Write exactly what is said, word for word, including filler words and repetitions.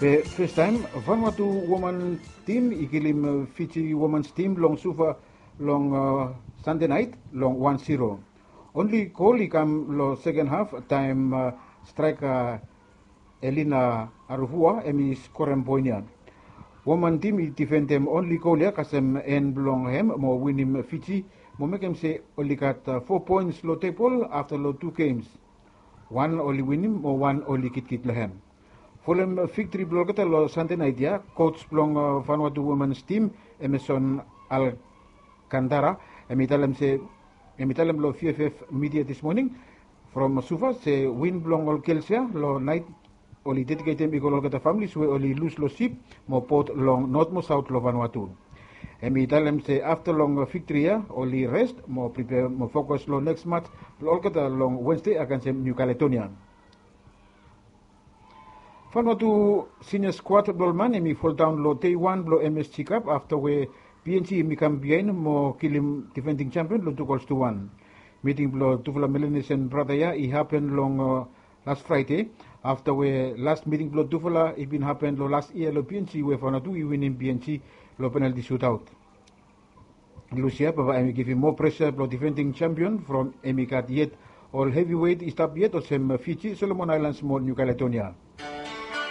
Be festaem Vanuatu woman tim i kilim Fiji woman tim long Suva long Sande nait long wan zero. Onli gol i kam long seken haf taem straeka Elina Aruvua em i skorem poen ya. Woman tim i difendem onli gol ya kasem en blong hem mo winim Fiji mo mekem se oli gat fo poens long tebol afta long tu gems. Wan oli winim mo wan oli kitkit long hem. Folem viktori blong olgeta long Sande nait ya, coach blong Vanuatu womens tim, Emerson Alcantara, em i talem se em i talem long V F F midia dis moning from Suva se win blong ol gels ya long nait oli dediketem i go long olgeta familis we oli lus long sip mo bot long not mo saot long Vanuatu. Em i talem se afta long viktori ya oli rest mo pripea mo fokus long neks mats blong olgeta long Wensde agensem Niu Kaledonia. Vanuatu sinia skuad blong ol man em i foldaon long dei wan blong M S G Cup afta we P N G em i kam biaen mo kilim difending champion long tu gols tu wan. Miting blong tufala Melanesian brata ya i hapen long las Fraede afta we las miting blong tufala i bin hapen long las yia long P N G we Vanuatu i winim P N G long penalti sutaot. Lusia baba em i givim moa presa blong difending champion from em i gat yet ol heviwet i stap yet olsem Fiji, Solomon Aelans mo Niu Kaledonia.